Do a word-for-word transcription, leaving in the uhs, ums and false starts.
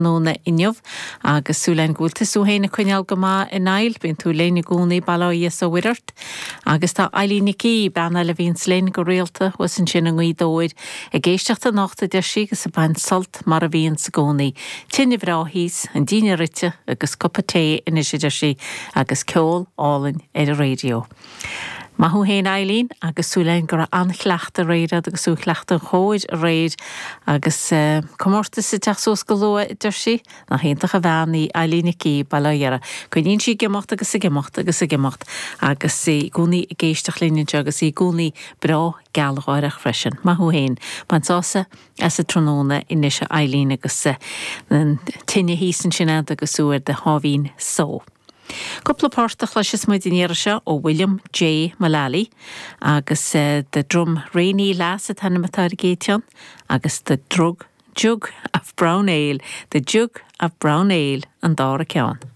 tráthnóna inniu agus súil againn go bhfuil tusa féin ag coinneáil go maith a Niall, bíonn tú linn i gcónaí bail ó Dhia is ó Mhuire ort. Agus tá Eileen Nic Aoidh, bean eile a bhíonns linn go rialta thuas ansin i nGaoth Dobhair, ag éisteacht anocht a deir sí agus ag baint sult mar a bhíonns i gcónaí. Tine bhreá thíos, an dinnéar ite agus cupa tae anois a deir sí agus ceol álainn ar an raidió. Maith thú féin Eileen agus súil againn go raibh an-chleachtadh aréir agat agus tú ag cleachtadh an chóir aréir agus uh, comórtas ag teacht suas go luath a deir sí, nach iontach an bhean í Eileen Nic Aoidh Baile Átha Dheara. Coinníonn sí ag imeacht agus ag imeacht agus ag imeacht agus í i gcónaí ag éisteacht linn anseo agus í i gcónaí breá gealgháireach freisin. Maith thú féin, bain sásamh as an tráthnóna anois a Eileen agus uh, an tine thíos ansin agat agus tú ar do sháimhín só. Cúpla port a chloisfidh muid an iarraidh seo ó William J. Mullally agus uh, The Drumraney Lass an t-ainm atá ar an gcéad cheann agus The Drug Jug of Brown Ale, The Jug of Brown Ale an dara ceann.